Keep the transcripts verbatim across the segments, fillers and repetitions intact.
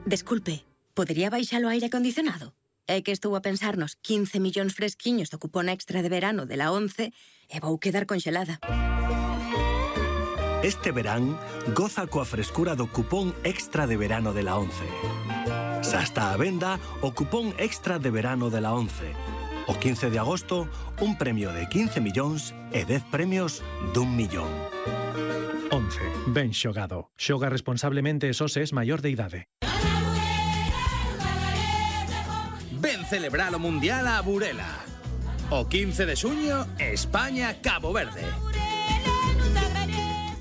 Desculpe, podería baixar o aire acondicionado? É que estou a pensar nos quince millóns fresquiños do cupón extra de verano de la once e vou quedar conxelada. Este verán, goza coa frescura do cupón extra de verano de la once. Xa está a venda o cupón extra de verano de la once. O quince de agosto, un premio de quince millóns e dez premios dun millón. once. Ben xogado. Xoga responsablemente e só se es maior de idade. Ven celebrar o Mundial a Burela. O quince de xuño, España-Cabo Verde.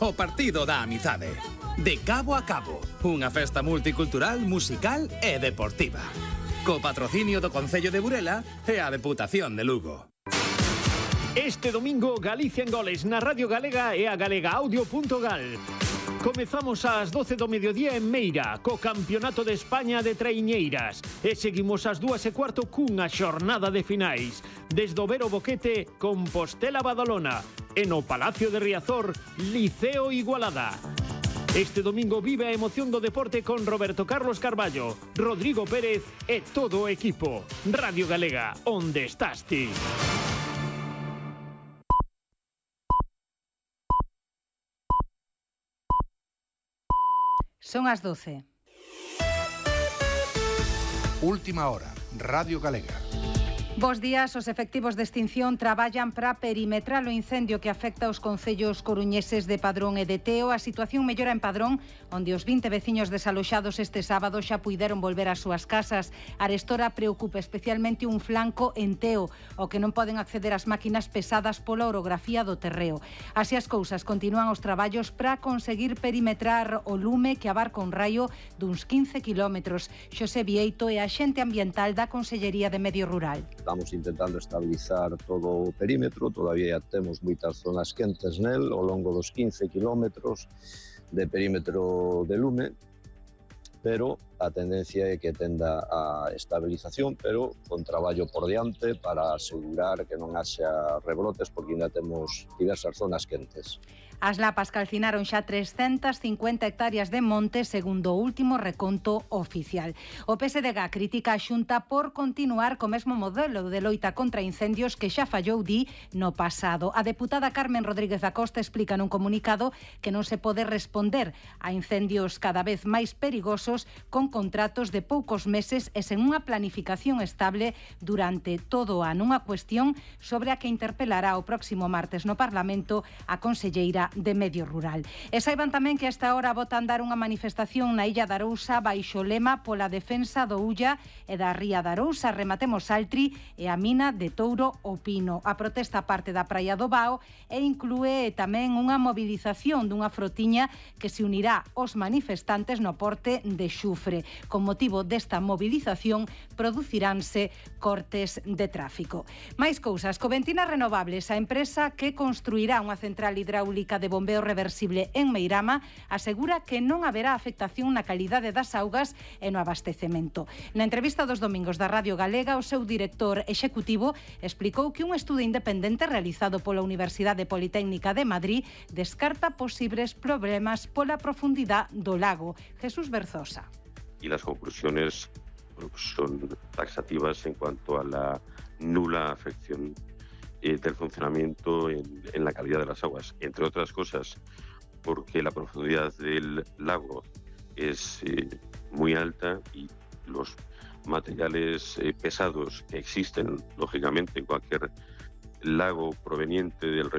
O partido da amizade. De cabo a cabo. Unha festa multicultural, musical e deportiva. Co patrocinio do Concello de Burela e a Deputación de Lugo. Este domingo, Galicia en goles na Radio Galega e a galegaaudio.gal. Comezamos ás doce do mediodía en Meira, co Campeonato de España de Traiñeiras. E seguimos ás dúas e cuarto cunha xornada de finais. Desde o Vero Boquete, Compostela Badalona. E no Palacio de Riazor, Liceo Igualada. Este domingo vive a emoción do deporte con Roberto Carlos Carballo, Rodrigo Pérez e todo o equipo. Radio Galega, onde estás ti? Son as doce. Última hora, Radio Galega. Bos días, os efectivos de extinción traballan para perimetrar o incendio que afecta aos concellos coruñeses de Padrón e de Teo. A situación mellora en Padrón, onde os vinte veciños desaloxados este sábado xa puideron volver ás súas casas. Arestora preocupa especialmente un flanco en Teo, o que non poden acceder ás máquinas pesadas pola orografía do terreo. Así as cousas, continúan os traballos para conseguir perimetrar o lume que abarca un raio duns quince kilómetros. Xosé Vieito é axente ambiental da Consellería de Medio Rural. Estamos intentando estabilizar todo o perímetro, todavía temos moitas zonas quentes nel, ao longo dos quince kilómetros de perímetro de lume, pero a tendencia é que tenda a estabilización, pero con traballo por diante para asegurar que non haxa rebrotes, porque ainda temos diversas zonas quentes. As lapas calcinaron xa trescentas cincuenta hectáreas de monte, segundo o último reconto oficial. O P S D G critica a Xunta por continuar co mesmo modelo de loita contra incendios que xa fallou, di, no pasado. A deputada Carmen Rodríguez da Costa explica nun comunicado que non se pode responder a incendios cada vez máis perigosos con contratos de poucos meses e sen unha planificación estable durante todo o ano. Unha cuestión sobre a que interpelará o próximo martes no Parlamento a conselleira de Medio Rural. E saiban tamén que a esta hora bota a andar unha manifestación na Illa da Arousa baixo lema pola defensa do Ulla e da Ría da Arousa. Rematemos Altri e a mina de Touro o Pino. A protesta parte da Praia do Bao e inclúe tamén unha movilización dunha frotiña que se unirá aos manifestantes no porte de Xufre. Con motivo desta movilización produciránse cortes de tráfico. Mais cousas, Coventinas Renovables, a empresa que construirá unha central hidráulica de bombeo reversible en Meirama, asegura que non haberá afectación na calidade das augas e no abastecemento. Na entrevista dos domingos da Radio Galega, o seu director executivo explicou que un estudo independente realizado pola Universidade Politécnica de Madrid descarta posibles problemas pola profundidade do lago. Jesús Berzosa. Y las conclusiones son taxativas en cuanto a la nula afección del funcionamiento en, en la calidad de las aguas, entre otras cosas porque la profundidad del lago es eh, muy alta y los materiales eh, pesados que existen lógicamente en cualquier lago proveniente del